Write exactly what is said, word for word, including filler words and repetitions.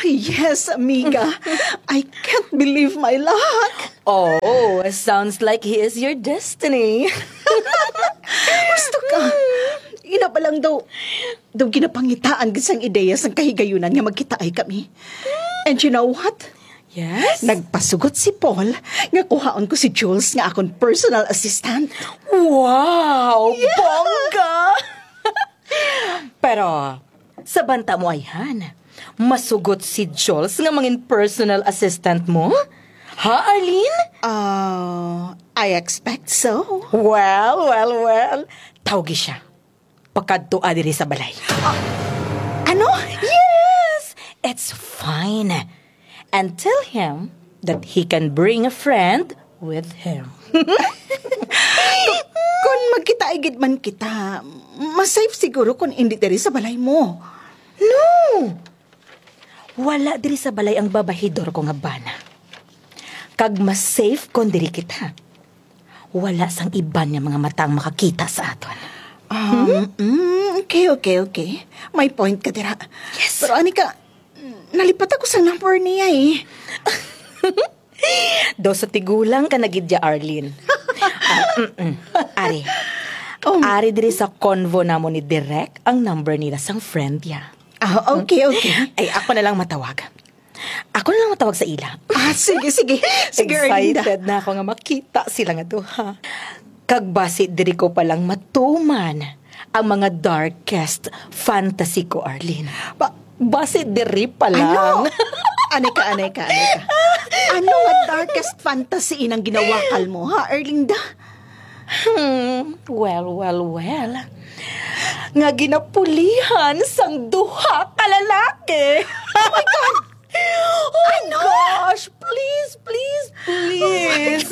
Yes, amiga. I can't believe my luck. Oh, sounds like he is your destiny. Gusto ka? Ina pa lang daw, daw ginapangitaan gid sang ideya sang kahigayunan nga magkitaay kami. And you know what? Yes? Nagpasugot si Paul nga kuhaon ko si Jules nga akon personal assistant. Wow! Bongga! Pero, sa banta mo ayhan, masugot si Jules nga mangin personal assistant mo? Ha, Arlene? Ah, I expect so. Well, well, well. Tawgi siya. Pakadtoa diri sa balay. Ano? Yes! It's fine. And tell him that he can bring a friend with him. Kon magkitaay gid man kita, mas safe siguro kon indi diri sa balay mo. No! Wala diri sa balay ang babahidor ko nga bana. Kag mas safe kon diri kita. Wala sang iban nga mga mata ang makakita sa aton. Um, mm, okay, okay, okay. May point ka dira. Yes. Pero ani ka, nalipat ako sa number niya eh. Daw sa tigulang ka na gid dya, Arlene. Ah, mm-mm. Ari. Um. Ari diri sa convo namon ni Direk ang number nila sang friend niya. Ah, okay, okay. Ay, ako na lang matawag. Ako na lang matawag sa ila. Ah, sige, sige. Sige, Erlinda. Excited na ako nga makita sila nga duha. Kag basi diri ko pa lang matuman ang mga darkest fantasy ko, Arlene. Ba- Basi diri pa lang. Ano? Anay ka, anay ka, anay ka. Ano nga darkest fantasy inang ginawakal mo, ha, Erlinda? Hmm, well, well, well. Nga ginapulihan sang duha ka lalaki. Oh my God! Oh gosh, please, please, please.